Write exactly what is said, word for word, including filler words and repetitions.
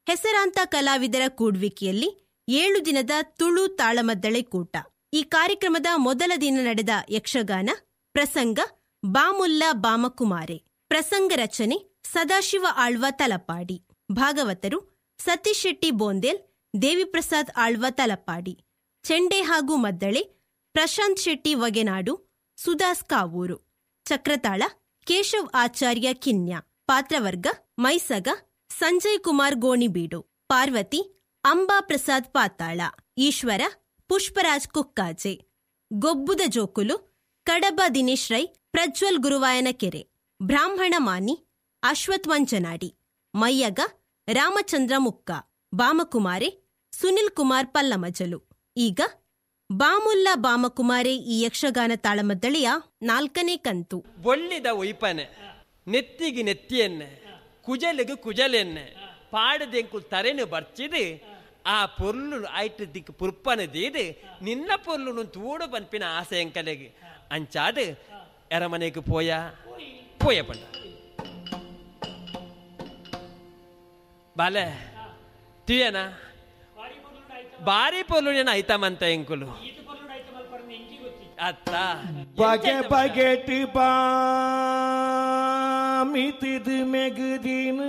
ಹೆಸರಾಂತ ಕಲಾವಿದರ ಕೂಡ್ವಿಕೆಯಲ್ಲಿ ಏಳು ದಿನದ ತುಳು ತಾಳಮದ್ದಳೆ ಕೂಟ. ಈ ಕಾರ್ಯಕ್ರಮದ ಮೊದಲ ದಿನ ನಡೆದ ಯಕ್ಷಗಾನ ಪ್ರಸಂಗ ಬಾಮುಲ್ಲ ಬಾಮಕುಮಾರೆ. ಪ್ರಸಂಗ ರಚನೆ ಸದಾಶಿವ ಆಳ್ವ ತಲಪಾಡಿ. ಭಾಗವತರು ಸತೀಶ್ ಶೆಟ್ಟಿ ಬೋಂದೇಲ್, ದೇವಿಪ್ರಸಾದ್ ಆಳ್ವ ತಲಪಾಡಿ. ಚೆಂಡೆ ಹಾಗೂ ಮದ್ದಳೆ ಪ್ರಶಾಂತ್ ಶೆಟ್ಟಿ ವಗೆನಾಡು, ಸುದಾಸ್ ಕಾವೂರು. ಚಕ್ರತಾಳ ಕೇಶವ್ ಆಚಾರ್ಯ ಕಿನ್ಯ. ಪಾತ್ರವರ್ಗ ಮೈಸಗ ಸಂಜಯ್ ಕುಮಾರ್ ಗೋಣಿಬೀಡು, ಪಾರ್ವತಿ ಅಂಬಾ ಪ್ರಸಾದ್ ಪಾತಾಳ, ಈಶ್ವರ ಪುಷ್ಪರಾಜ್ ಕುಕ್ಕಾಜೆ, ಗೊಬ್ಬುದ ಜೋಕುಲು ಕಡಬ ದಿನೇಶ್ ರೈ, ಪ್ರಜ್ವಲ್ ಗುರುವಾಯನಕೆರೆ, ಬ್ರಾಹ್ಮಣ ಮಾನಿ ಅಶ್ವಥ್ ಮಂಜನಾಡಿ, ಮಯ್ಯಗ ರಾಮಚಂದ್ರ ಮುಕ್ಕ, ಬಾಮಕುಮಾರೆ ಸುನಿಲ್ ಕುಮಾರ್ ಪಲ್ಲಮಜಲು. ಈಗ ಬಾಮುಲ್ಲ ಬಾಮಕುಮಾರೆ ಈ ಯಕ್ಷಗಾನ ತಾಳಮದ್ದಳೆಯ ನಾಲ್ಕನೇ ಕಂತು. ಬೊಳ್ಳಿದ ಉಯ್ಪನೆ ನೆತ್ತಿಗೆ ನೆತ್ತಿಯನ್ನೆ ಕುಜಲಿಗೆ ಕುಜಲೆನ್ನೆ ಪಾಡದೆಂಕು ತರೆನು ಬರ್ಚಿದು ಆ ಪೊರ್ಲು ಐಟ್ ದಿಕ್ಕು ಪುರ್ಪನ ದೀದು ನಿನ್ನ ಪೊರ್ಲು ತೂಡು ಪನ್ಪಿನ ಆಸೆ ಎಂಕಲೆಗೆ ಅಂಚಾದ ಎರಮನೆಗೆ ಪೋಯ ಪೋಯ ಪಂಡ ಬಾಲೆ ತುಯನ ಬಾರಿ ಪೊರ್ಲು ಐತಮಂತ ಎಂಕುಲು ಅತ್ತ ಬಗೆ ಬಗೆಟ್ ಬಾಮಿತಿದು ಮೆಗುದಿನ